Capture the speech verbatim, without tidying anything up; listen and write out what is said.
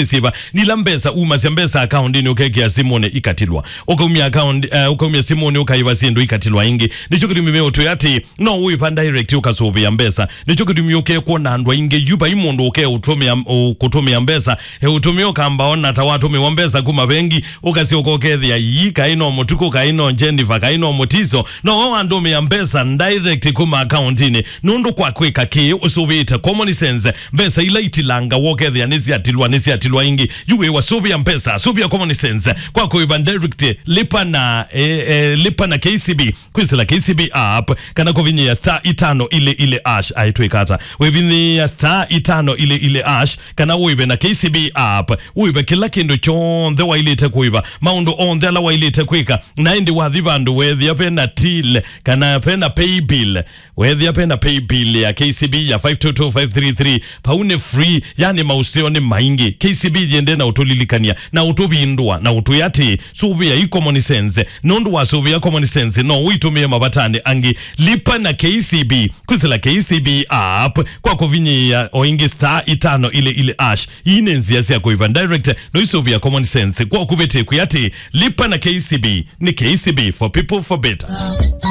Siva, nila mbesa, umasya mbesa akaundinĩ, ũkekĩa simũnĩ ikatilwa. Ũkaumya account, eh, ũkaumya simũnĩ, ũkaiva syĩndũ ikatilwa ĩngĩ. Nĩkyo kĩtumi meũtwĩa atĩ, no ũiva direct ũkasũvĩa mbesa. Nĩkyo kĩtumi ũkekwona andũ aingĩ yu vai mũndũ ũkeũtũmĩa, ũ-, kũtũmĩa mbesa. E, ũtũmĩa ũkamba ona ta watũmĩwa mbesa kuma vengi, ũkasyoka ũkethĩa ii, kaĩ no mũtuko, kaĩ no Jennifer, kaĩ no mũtiso. No we wandũmĩa mbesa direct kuma akaundinĩ. Nũndũ kwa kwĩka kĩĩ ũsũvĩĩte common sense. Mbesa ila itilanga wokethĩa nĩsyatilwa, nĩsyatilwa ĩngĩ. Yu wĩwa sũvĩa mbesa, sũvĩa common sense. Kwa kũiva direct, lipa na, eh, eh, lipa na K C B, kwĩsĩla K C B app, kana kũvinyĩa star itano ile ile hash, aitwĩka ata. Wĩvinyĩa star itano ile ile hash, kana ũive na K C B app, ũive kĩla kĩndũ kyonthe wailĩte kũiva, maũndũ onthe ala wailĩte kwĩka, na ĩndĩ wathi vandũ wethĩa vena till, kana vena pay bill, wethĩa vena pay bill ya K C B ya five two two five three three, pau nĩ free, yani maũseo nĩ maingĩ. K C B yende na ũtũlilikania, na ũtũvindũa, na ũtwĩa atĩ, sũvĩa ĩ common sense. Nũndũ wa sũvĩa common sense, no ũitũmĩe mavatani angĩ. Lipa na K C B, kwĩsĩla K C B app, kwa kũvinyĩa o ĩngĩ star itano ile ile hash. Ii nĩ nzĩa sya kũiva direct, no isũvĩa common sense. Kwa kũvĩtĩkwĩa atĩ, lipa na K C B, nĩ K C B for people for better.